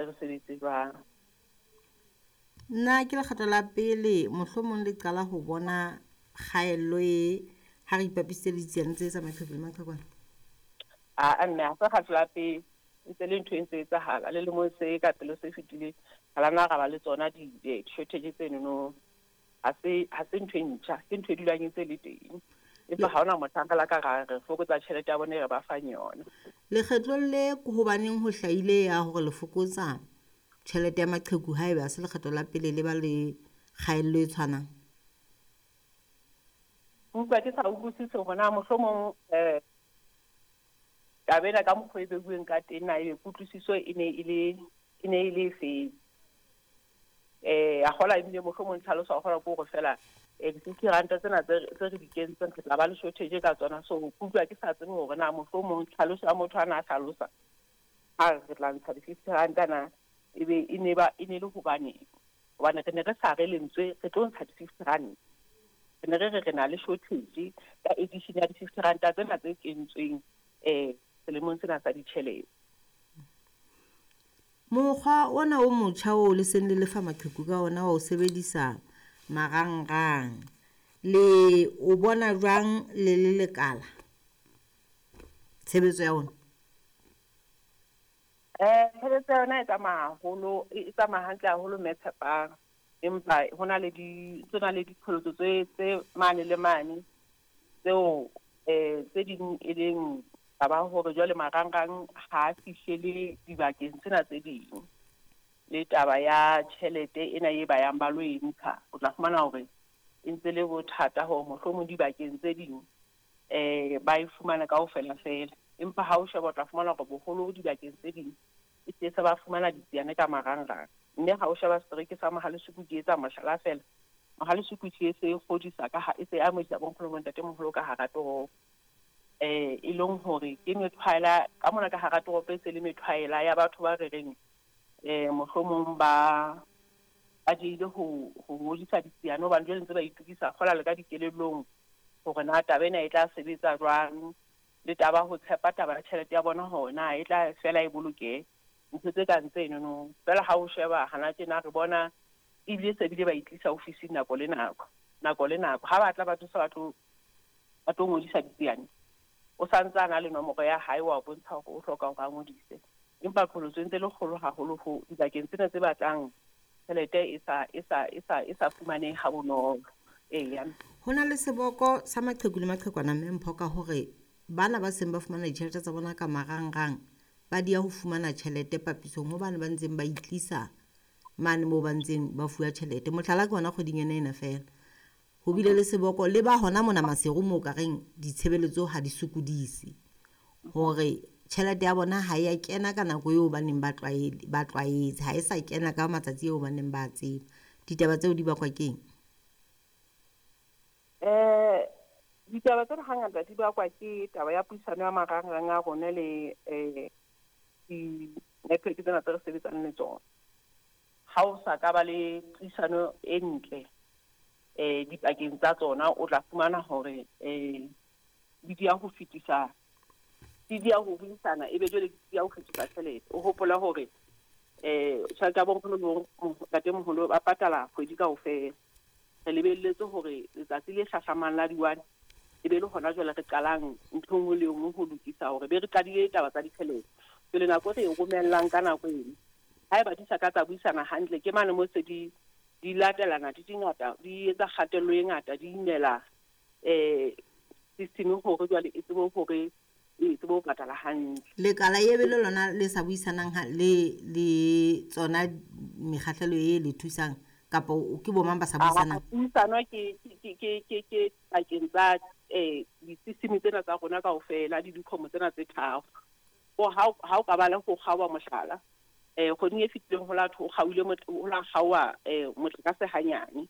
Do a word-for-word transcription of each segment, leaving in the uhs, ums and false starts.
Re sebetse jwang. Nna ke lekgetlo la pele mohlomong le qala ho bona kgaello e ha re ipapisitse le ditsiane tse tsa maqheku le maqhekwana? Aa mme ha se kgetlo la pele, ntse le ntho e ntse etsahala le lemong se ka pele se fetileng, ha la nna ra ba le tsona di-shortage tsenono. Ha se ha se ntho e ntjha, ke ntho e dulang e ntse le teng. Empa ha hona mohlang re la ka ra re fokotsa tjhelete ya bona e re ba fang yona. Lekgetlong le ke hobaneng ho hlahile ya hore le fokotsa tjhelete ya maqheku haeba ha se lekgetlo la pele le ba le kgaello e tshwanang? Utlwa ke sa utlwisise hore na mohlomong eh taba ena ka mokgwa e beuweng ka teng na ebe kutlwisiso e ne e le e ne e le efeng. Eh a kgola ebile mohlomong tlhaloso a kgola ke hore feela eh di-fifty ranta tsena tse tse re di kentseng re tla ba le shortage ka tsona. So ke utlwa ke sa tsebe hore na mohlomong tlhaloso ya motho ana a hlalosa ha re tla ntsha di-fifty ranta na ebe e ne ba e ne le hobaneng. Hobane re ne re sa re lentswe re tlo ntsha di-fifty ranta. Re ne re re re na le shortage ka edition ya di-fifty ranta tsena tse kentsweng eh selemong sena sa ditjhelete. Mokgwa ona o motjha oo le seng le lefa maqheku ka ona wa ho sebedisa marangrang, le o bona jwang le le lekala tshebetso ya ona? Eh tshebetso ya yona e tsamaya haholo, e tsamaya hantle haholo mme Tshepang. Empa hona le di tsena le diqholotso tse tse mane le mane tseo eh tse ding e leng taba hore jwale marangrang ha fihlele dibakeng tsena tse ding. Le taba ya tjhelete ena e ba yang ba lo e ntsha, o tla fumana hore e ntse le bothata hore mohlomong dibakeng tse ding eh ba e fumana kaofela fela. Empa ha o sheba o tla fumana hore boholo dibakeng tse ding e se se ba fumana ditsiane ka marangrang. Mme ha o sheba setereke sa Mohale'shoek ke etsa mohlala fela, Mohale'shoek e se e kgodisa ka ha e se amohela bo nkgono bo ntatemoholo ka hara toropo. Eh e leng hore ke methwaela ka mona ka hara toropo e se le methwaela ya batho ba re reng eh mohlomong ba ba diehile ho ho ngodisa ditsiane hobane jwale ntse ba itokisa kgola le ka dikelellong hore na taba ena e tla sebetsa jwang, le taba ho tshepa taba ya tjhelete ya bona hore na e tla fela e bolokehe. Ntho tse kang tsenono. Feela ha o sheba hana tjena re bona ebile se bile ba itlisa ofising nako le nako, nako le nako. Ha ba tla batho se ba tlo ba tlo ngodisa ditsiane, o santse a na le nomoro ya hae wa bontsha hore o hloka hore a ngodise. Empa qholotso e ntse le kgolo haholo ho dibakeng tsena tse batlang tjhelete e sa e sa e sa e sa fumanehe ha bonolo. Eya. Ho na le seboko sa maqheku le maqhekwana mme Mpho ka hore bana ba seng ba fumana ditjhelete tsa bona ka marangrang ba dia ho fumana tjhelete papisong ho bane ba ntseng ba itlisa mane moo ba ntseng ba fuwa tjhelete. Mohlala ke hona kgweding ena ena feela. Ho bile le seboko le ba hona mona Maseru moo ka reng ditshebeletso ha di sokodise. Hore tjhelete ya bona ha ya kena ka nako eo ba neng ba tlwaele, ba tlwaetse, ha e sa kena ka matsatsi eo ba neng ba tseba. Ditaba tseo di bakwa keng? Eh ditaba tsena hangata di bakwa ke taba ya puisano ya marangrang a rona le eh di-network tsena tse re sebetsang le tsona. Ha o sa ka ba le puisano e ntle eh dipakeng tsa tsona, o tla fumana hore eh di dia ho fetisa, di dia ho buisana, ebe jwale di dia ho fetisa tjhelete. O hopola hore eh tjhelete ya bo nkgono le bo ntatemoholo ba patala kgwedi kaofela. Re lebelletse hore letsatsi le hlahlamang la di-one e be le hona jwale re qalang ntho e nngwe le e nngwe ho lokisa hore be re qadile taba tsa ditjhelete. Jwale nako e re e romellang ka nako eno, haeba di sa ka tsa buisana hantle, ke mane mo se di di latelana di dingata, di etsa kgatello e ngata, di imela eh system hore jwale e tsebe hore e tsebe ho patala hantle. Lekala e be le lona le sa buisanang ha le le tsona mekgahlelo e le thusang kapa ke bo mang ba sa buisanang? Puisano ke ke ke ke ke pakeng tsa eh di-system tsena tsa rona kaofela le dikhomo tsena tse tharo. O ha ha o ka ba le ho kgaoha mohlala, eh kgweding e fetileng ho la ho kgaohile ho la kgaoha eh motlakase hanyane.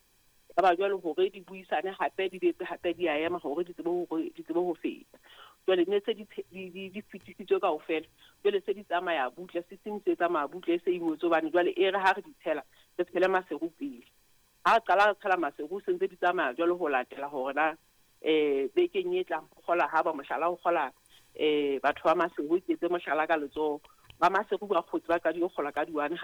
Ya ba jwale hore di buisane hape di betse hape di a ema hore di tsebe hore di tsebe ho feta. Jwale ne se di di di fetisitswe kaofela, jwale se di tsamaya butle, system se tsamaya butle e se ingwetswe hobane jwale e re ha re di tshela, re tshele Maseru pele. Ha re qala re tshela Maseru se ntse di tsamaya jwale ho latela hore na eh bekeng e tlang ho kgola ha ba mohlala ho kgola eh batho ba Maseru, ke etse mohlala ka letsoho. Ba Maseru ba kgotse ba qadile ho kgola ka di-one.